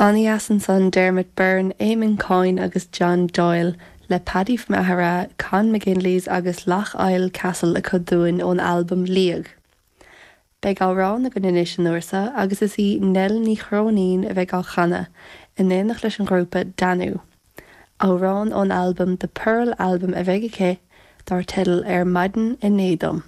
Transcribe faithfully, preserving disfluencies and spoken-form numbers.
An-dheas ansan Dermot Byrne, Eamon Coyne agus John Doyle le Paddy from Aghera, Con McGinley's agus Loch Eil Castle acu dúinn ón albam Liag. Beidh amhrán againn anois an uair seo agus is í Nell Ní Chróinín a bheidh á chanadh in éineacht leis an ghrúpa Danú. Amhrán ón albam The Pearl Album a bheidh aici dar teideal ar maidin inné dom.